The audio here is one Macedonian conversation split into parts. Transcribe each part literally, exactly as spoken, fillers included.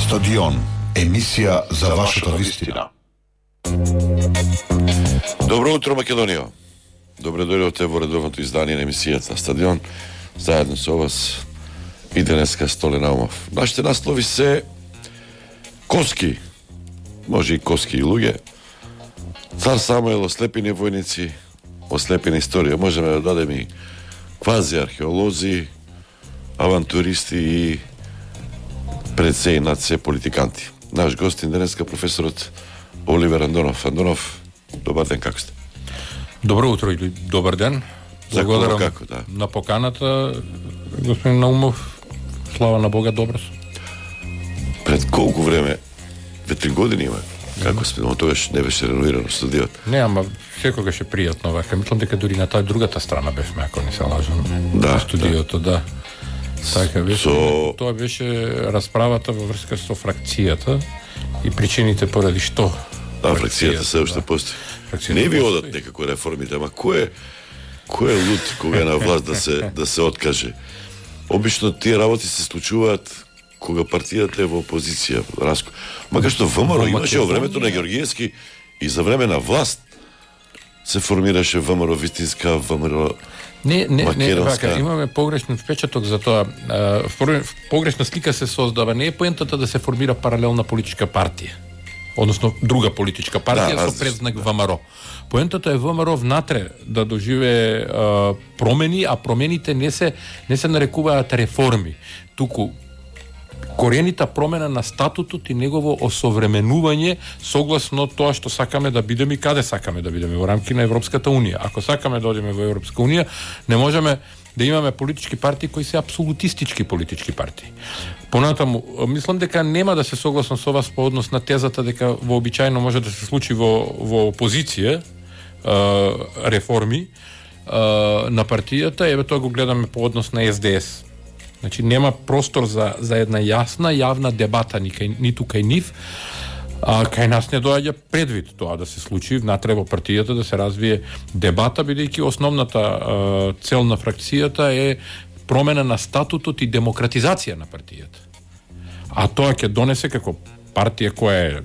Стадион, емисија за вашата вистина. Добро утро, Македонија. Добре дојдовте во редовното издание на емисијата Стадион, заедно со вас и денеска Столе Наумов. Нашите наслови се Коски, може и Коски и луѓе, Цар Самуел, ослепени војници, ослепена историја. Можеме да дадеме и квази археолози, авантуристи и пред се и над се политиканти. Наш гостин денеска професорот Оливер Андонов. Андонов, добар ден, како сте? Добро утро или добар ден. Благодарам како, да. на поканата, господин Наумов. Слава на Бога, добро сум. Пред колку време? Две три години има. Како сме, но тогаш не беше реновирано студиот. Не, ама секогаш е пријатно вака. Мислам дека дури на таа другата страна бевме, ако не се лажам. Да, студиото, да. да. Така беше. Со... Тоа беше расправата во врска со фракцијата и причините поради што. Да, фракцијата се уште да. Постои. Фракцијата не ви одат некако реформите, ама кој е кој е луд кога е на власт да се да се откаже? Обично тие работи се случуваат кога партијата е во опозиција, раско. Макар што ВМРО имаше во времето на Георгиевски и за време на власт се формираше ВМРО вистинска, ВМРО Не, не, не, вака, имаме погрешен впечаток за тоа. Погрешна слика се создава. Не е поентата да се формира паралелна политичка партија, односно друга политичка партија да, со предзнак ВМРО. Поентата е ВМРО внатре да доживее а, промени, а промените не се не се нарекуваат реформи. Туку корените промена на статутот и негово осовременување согласно тоа што сакаме да бидеме и каде сакаме да бидеме во рамки на Европската унија. Ако сакаме да одиме во Европска унија, не можеме да имаме политички партии кои се апсолутистички политички партии. Понатаму, мислам дека нема да се согласам со вас по однос на тезата дека вообичаено може да се случи во во опозиција реформи на партијата, еве тоа го гледаме по однос на Ес Де Ес. Значи нема простор за за една јасна јавна дебата ни кај, ниту кај нив, а кај нас не доаѓа предвид тоа да се случи внатре во партијата, да се развие дебата, бидејќи основната а, цел на фракцијата е промена на статутот и демократизација на партијата. А тоа ќе донесе како партија која е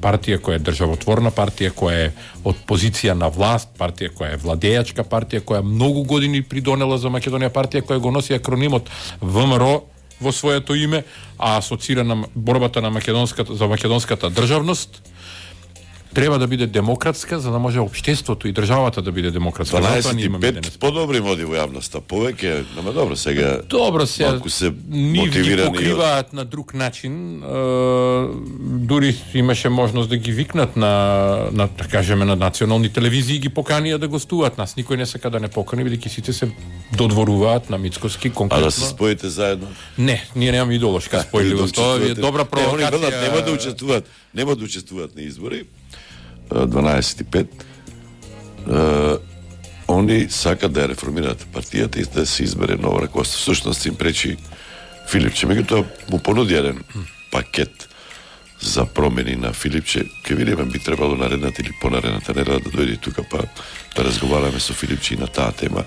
партија која е државотворна, партија која е од позиција на власт, партија која е владејачка партија, која многу години придонела за Македонија, партија која го носи акронимот ВМРО во своето име, а асоцира на борбата на македонската за македонската државност, треба да биде демократска, за да може општеството и државата да биде демократска. дванаесет и пет подобри моди во јавноста, повеќе, нема добро сега. Добро се, се нив ги покриваат од... на друг начин. Е, дури имаше можност да ги викнат на, на да кажеме, на национални телевизии и ги поканија да гостуваат. Нас никој не сака да не покани, бидејќи сите се додворуваат на Мицкоски конкретно. А да се споите заедно? Не, ние немаме идеолошка спојливост. Тоа е добра провокација. Не, нема да учествуваат, нема да учествуваат на избори. дванаесет и пет uh, они сакат да ја реформираат партијата и да се избере ново раководство. Всушност им пречи Филипче. Меѓутоа му понуди еден пакет за промени на Филипче. Ке видиме, би требало наредната или понаредната неделя да дојде тука па да разговараме со Филипче и на таа тема.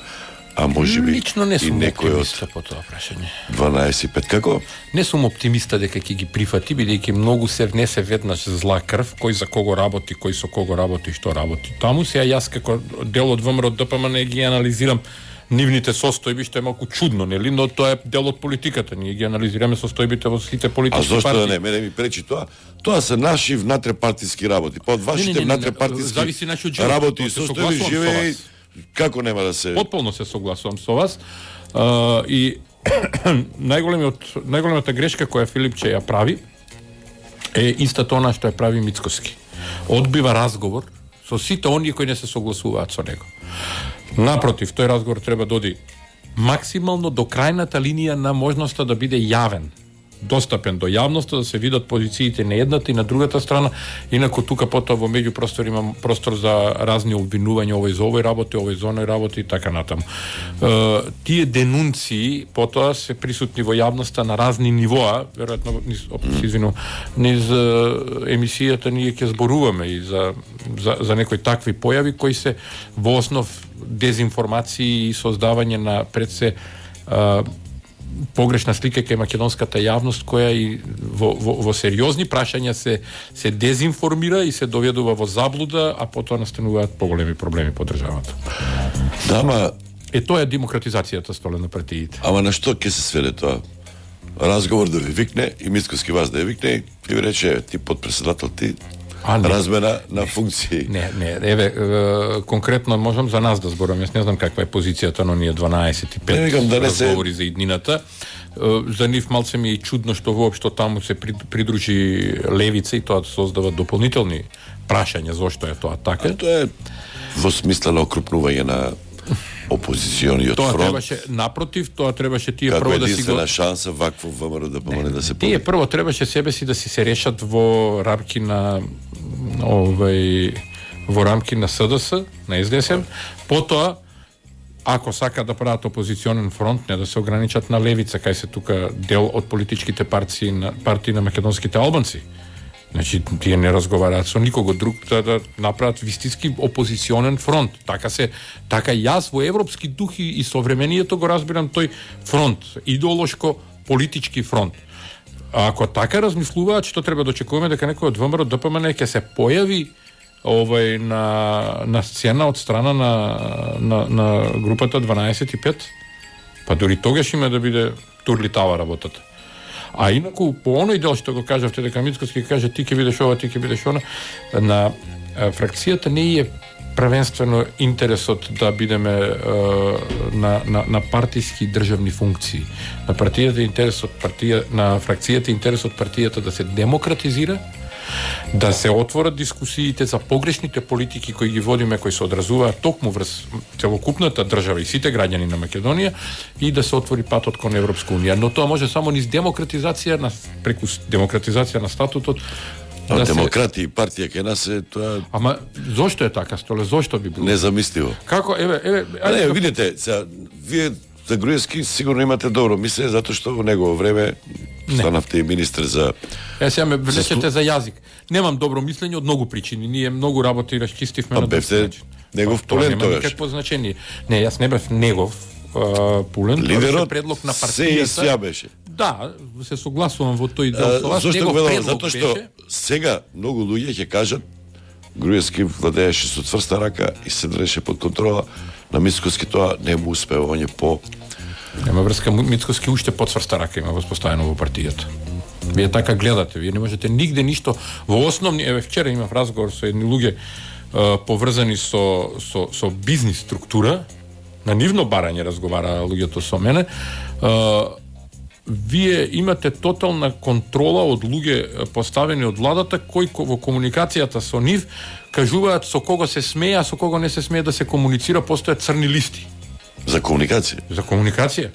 А може би лично не сум и некој оптимиста по тоа прашање. дванаесет и пет како? Не сум оптимиста дека ќе ги прифати, бидејќи многу се внесе веднаш зла крв, кој за кого работи, кој со кого работи, што работи. Таму се јас како дел од ВМРО Д П М не ги анализирам нивните состојби, што е малку чудно, нели, но тоа е дел од политиката. Ние ги анализираме состојбите во сите политички партии. А зошто да не, мене ми пречи тоа? Тоа се наши внатрепартиски работи. Па од вашите внатрепартиски работи и состојби живее. Како нема да се... Потполно се согласувам со вас. Uh, и најголемиот, најголемата грешка која Филипче ја прави е истата она што ја прави Мицкоски. Одбива разговор со сите оние кои не се согласуваат со него. Напротив, тој разговор треба да оди максимално до крајната линија на можноста да биде јавен, достапен до јавноста, да се видат позициите на едната и на другата страна, инаку тука потоа во меѓупростор има простор за разни обвинувања, овој за овој работи, овој за оној работи и така натаму. Е, тие денунции потоа се присутни во јавноста на разни нивоа, веројатно низ, извину, низ емисијата ние ќе зборуваме и за, за, за некои такви појави кои се во основ дезинформации и создавање на пред се погрешна слика кај македонската јавност која и во, во, во сериозни прашања се се дезинформира и се доведува во заблуда, а потоа настануваат поголеми проблеми по државата. Да, ама Е тоа е демократизацијата, Столе, на партиите. Ама на што ќе се сведе тоа? Разговор да ви викне и Мицкоски вас да ја викне и ви рече ти подпредседател ти А, не. размена на функции. Не, не, еве, е, конкретно можам за нас да зборам. Јас не знам каква е позицијата на ние дванаесет и пет Не, викам да не се- разговори за иднината. Е, За нив малце ми е чудно што воопшто таму се прид- придружи левица и тоа создава дополнителни прашања зошто е тоа така. Тоа е во смисла на окрупнување на опозициониот Тоа фронт. требаше, напротив, тоа требаше тие Како прво да си го... единствена шанса вакво ВМРО да помогне да се Тие победи. прво требаше себе си да си се решат во рамки на овај во рамки на СДС, на СДСМ, потоа ако сака да прават опозиционен фронт, не да се ограничат на левица, кај се тука дел од политичките партии на партии на македонските албанци. Значи, тие не разговараат со никого друг да, да направат вистински опозиционен фронт. Така се, така јас во европски дух и, и современието го разбирам тој фронт, идеолошко политички фронт. А ако така размислуваат, што треба да очекуваме дека некој од ВМРО ДПМН ќе се појави овај на на сцена од страна на на на групата дванаесет и пет, па дури тогаш има да биде турлитава работата. А инаку по оној дел што го кажавте дека Мицкоски каже ти ќе бидеш ова, ти ќе бидеш она, на а, фракцијата не е првенствено интересот да бидеме а, на, на, на партиски државни функции. На партијата интересот партија, на фракцијата интересот партијата да се демократизира, да се отворат дискусиите за погрешните политики кои ги водиме, кои се одразуваат токму врз целокупната држава и сите граѓани на Македонија и да се отвори патот кон Европска унија. Но тоа може само низ демократизација, на, преку демократизација на статутот. А Да се... демократи и партија ке нас е тоа Ама зошто е така, Столе? Зошто би било? незамисливо. Како, еве, еве, А не, ајде, видите, сега, вие за Груевски сигурно имате добро мислење, затоа што во негово време станавте и министр за... Ја сега ме влечете за јазик. Немам добро мислење од многу причини. Ние многу работи расчистивме А на бевте друг начин. негов Па, тоа пулен нема тогаш. никакво значение. Не, јас не бев негов а, пулен. Тоа беше Лидерот предлог на се партијата. исја беше. Да, се согласувам во тој дел А, со вас. Зошто Негов го велам? предлог Затоа што беше. сега многу луѓе ќе кажат Груевски владееше со цврста рака и се држеше под контрола на Мицкоски, тоа не му успева, он е по... Нема врска, Мицкоски уште подсврста рака има воспоставено во партијата. Вие така гледате, вие не можете нигде ништо во основни, еве вчера имав разговор со едни луѓе е, поврзани со со со бизнис структура, на нивно барање разговара луѓето со мене. Е, вие имате тотална контрола од луѓе поставени од владата кои ко- во комуникацијата со нив кажуваат со кого се смее, а со кого не се смее да се комуницира, постојат црни листи За комуникација. за комуникација.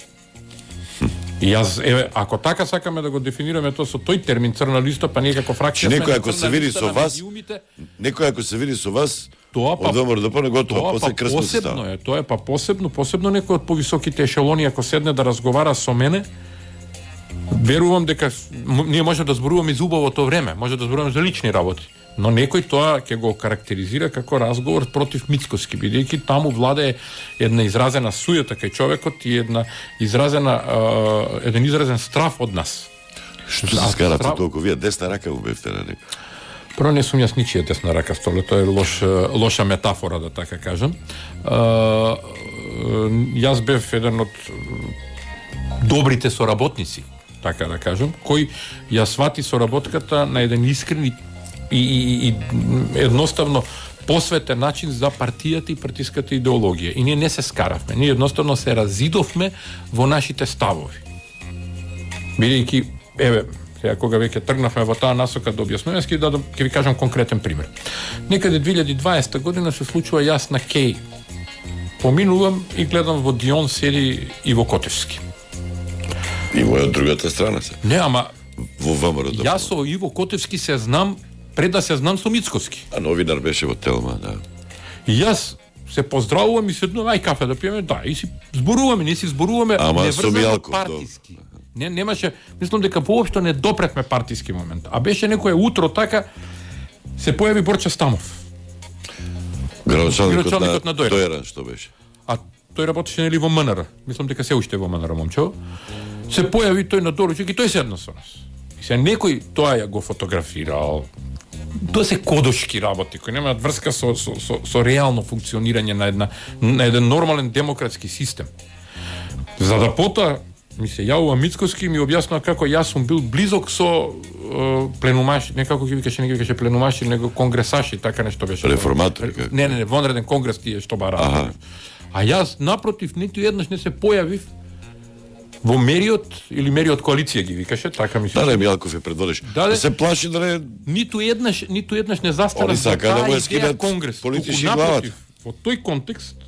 И јас, еве, ако така сакаме да го дефинираме тоа со тој термин црна листа, па ние како фракција Че сме некој на ако црна се види листа со на вас, медиумите, некој ако се види со вас, тоа па од ВМРО да не готово, тоа после па крстно се посебно става. е, тоа е па посебно, посебно некој од повисоките ешелони ако седне да разговара со мене, верувам дека м- ние може да зборуваме за убавото време, може да зборуваме за лични работи, но некој тоа ќе го карактеризира како разговор против Мицкоски, бидејќи таму владее една изразена суета кај човекот и една изразена а, еден изразен страф од нас. Што А, се скарате страв- толку? Вие десна рака му бевте на некој. Прво не сум јас ничија десна рака, Столе, тоа е лош, лоша метафора, да така кажам. А, јас бев еден од добрите соработници, така да кажам, кој ја свати соработката на еден искрен и, и, и, и едноставно посветен начин за партијата и партиската идеологија. И ние не се скаравме, ние едноставно се разидовме во нашите ставови. Бидејќи, еве, сега кога веќе тргнавме во таа насока да објаснуваме, ќе да ќе ви кажам конкретен пример. Некаде две илјади и дваесета година се случува јас на Кеј. Поминувам и гледам во Дион седи Иво Котевски. И моја од другата страна се. Не, ама Во ВМРО да. јас со Иво Котевски се знам пред да се знам со Мицкоски. А новинар беше во Телма, да. И јас се поздравувам и седнувам, ај кафе да пиеме, да, и си зборуваме, не си зборуваме Ама неврзано со Мијалков, партиски. Не, немаше, мислам дека воопшто не допретме партиски момент. А беше некое утро така, се појави Борче Стамов. Градоначалникот Градоначалникот на на Дојран. Дојран, што беше. А тој работеше нели во МНР. Мислам дека се уште е во МНР, момче. се појави тој на доручек и тој седна со нас. И се некој тоа ја го фотографирал. Тоа се кодошки работи кои немаат врска со, со, со, со реално функционирање на една на еден нормален демократски систем. За да потоа ми се јавува Мицкоски и ми објаснува како јас сум бил близок со е, пленумаши, не како ги викаше, не ги викаше пленумаши, него конгресаши, така нешто беше. Реформатори, како? Не, не, не, вонреден конгрес тие што бараат. А јас напротив ниту еднаш не се појавив во мериот или мериот коалиција ги викаше, така ми се. Да, не, Милков е предводиш. Да, да се плаши да не ниту еднаш, ниту еднаш не застана за таа да идеја конгрес. Политички напротив, во тој контекст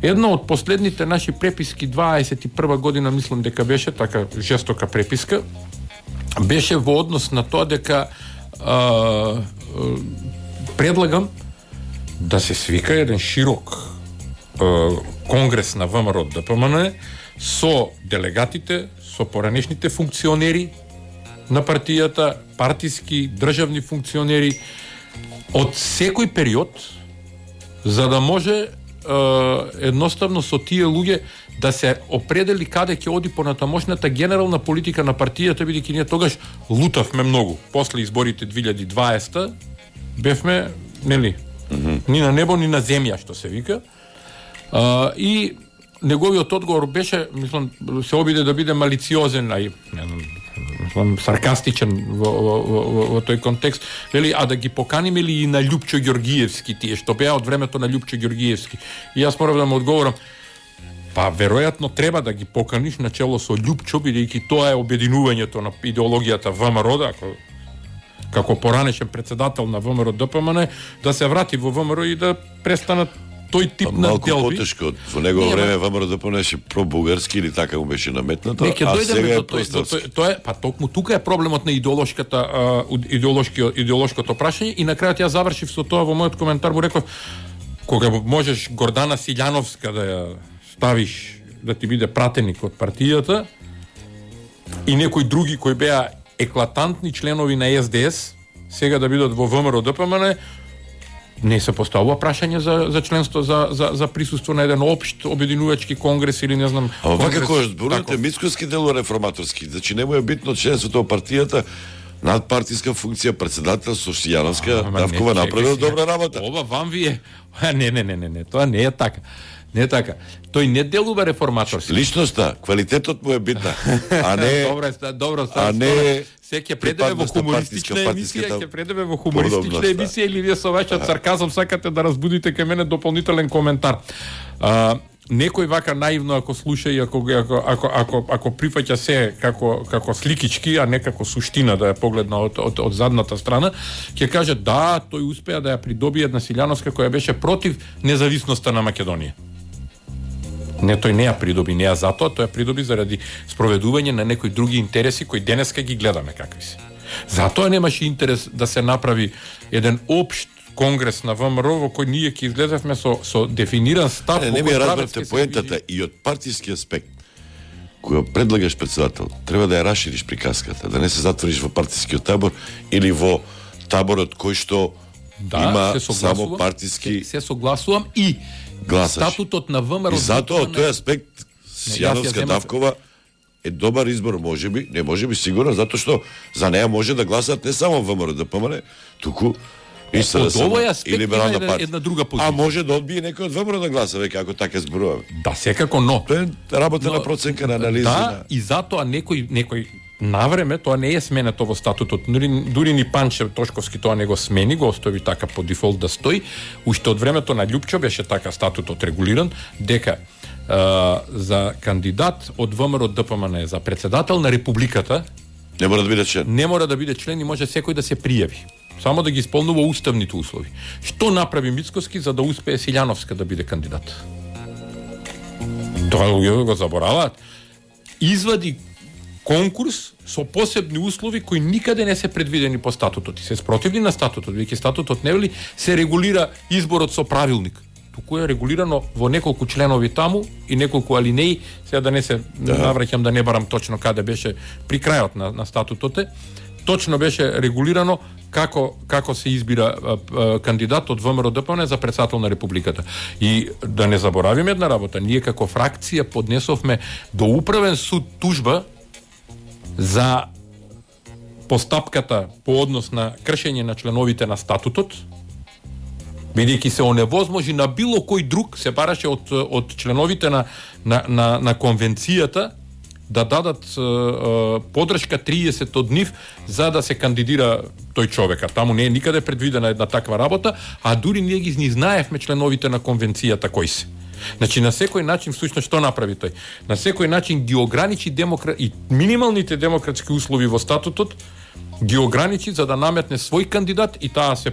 една од последните наши преписки дваесет и прва година, мислам дека беше така жестока преписка, беше во однос на тоа дека а, а, предлагам да се свика еден широк а, конгрес на ВМРО ДПМН со делегатите, со поранешните функционери на партијата, партиски, државни функционери од секој период, за да може едноставно со тие луѓе да се определи каде ќе оди понатамошната генерална политика на партијата, бидејќи ние тогаш лутавме многу. После изборите две илјади и дваесета бевме, нели, mm-hmm. ни на небо, ни на земја, што се вика. А, и неговиот одговор беше, мислам, се обиде да биде малициозен, а и мислам, саркастичен во, во, во, во тој контекст, вели, а да ги поканиме ли и на Љупчо Ѓоргиевски тие, што беа од времето на Љупчо Ѓоргиевски. И јас морав да му одговорам, па веројатно треба да ги поканиш на чело со Љупчо, бидејќи тоа е обединувањето на идеологијата ВМРО, ако како поранешен председател на ВМРО ДПМН, да се врати во ВМРО и да престанат тој тип на малку делби. Малку потешко, во негово време ВМРО ДПМН беше пробугарски или така му беше наметнато, а сега е просторски. Тоа е, па токму тука е проблемот на идеолошката а, идеолошки идеолошкото прашање и на крајот ја завршив со тоа во мојот коментар, му реков кога можеш Гордана Силјановска да ја ставиш да ти биде пратеник од партијата и некои други кои беа еклатантни членови на Ес Де Ес сега да бидат во ВМРО ДПМН, не се поставува прашање за за членство за за за присуство на еден општ обединувачки конгрес или не знам. А ова како зборувате Мицкоски дело реформаторски, значи не му е битно членството во партијата, надпартиска функција, председател со Силјановска, Давкова направила добра работа. Ова вам ви е, не не не не не, тоа не е така. Не е така. Тој не делува реформаторски. Личноста, квалитетот му е битна, а не добро, добро, а не се ќе предаве во хумористична емисија, ќе предаве во хумористична емисија или вие со вашиот сарказам сакате да разбудите кај мене дополнителен коментар. А, некој вака наивно ако слуша и ако ако ако ако, ако прифаќа се како како сликички, а не како суштина да ја погледна од од, од задната страна, ќе каже да, тој успеа да ја придобие една Силјановска која беше против независноста на Македонија. Не, тој не ја придоби, не ја затоа, тој ја придоби заради спроведување на некои други интереси кои денеска ги гледаме какви се. Затоа немаше интерес да се направи еден општ конгрес на ВМРО во кој ние ќе излезевме со со дефиниран став. Не, не ми разбрате поентата и од партиски аспект. Кога предлагаш председател, треба да ја расшириш приказката, да не се затвориш во партискиот табор или во таборот кој што да, има само партиски. Се, се согласувам и гласаш. Статутот на ВМРО. И затоа од тој аспект Силјановска Давкова е добар избор, можеби, не можеби сигурно, затоа што за неја може да гласат не само ВМРО ДПМН, туку и СДСМ и Либерална една, партија. Една друга позиција. А може да одбие некој од ВМРО да гласа, веќе ако така зборуваме. Да, секако, но тоа е работа но, на проценка на анализа. Да, на... и затоа некој некој навреме тоа не е сменето во статутот. Дури, дури ни Панче Тошковски тоа не го смени, го остави така по дефолт да стои. Уште од времето на Љупчо беше така статутот регулиран дека а, за кандидат од ВМРО ДПМН за председател на Републиката не мора да биде член. Не мора да биде член и може секој да се пријави. Само да ги исполнува уставните услови. Што направи Мицкоски за да успее Силјановска да биде кандидат? Тоа луѓето го забораваат. Извади конкурс со посебни услови кои никаде не се предвидени по статутот. И се спротивни на статутот, веќе статутот не вели се регулира изборот со правилник. Туку е регулирано во неколку членови таму и неколку алинеи, сега да не се да. навраќам да не барам точно каде беше при крајот на, на статутот, точно беше регулирано како како се избира а, а, кандидат од ВМРО-ДПМН за председател на Републиката. И да не заборавиме една работа, ние како фракција поднесовме до управен суд тужба за постапката по однос на кршење на членовите на статутот, бидејќи се оневозможи на било кој друг, се бараше од од членовите на на на, на конвенцијата да дадат е, е, подршка триесет од нив за да се кандидира тој човека. Таму не е никаде предвидена една таква работа, а дури ние ги ни знаевме членовите на конвенцијата кои се. Значи на секој начин всушност што направи тој? На секој начин ги ограничи демокра... и минималните демократски услови во статутот, ги ограничи за да наметне свој кандидат и таа се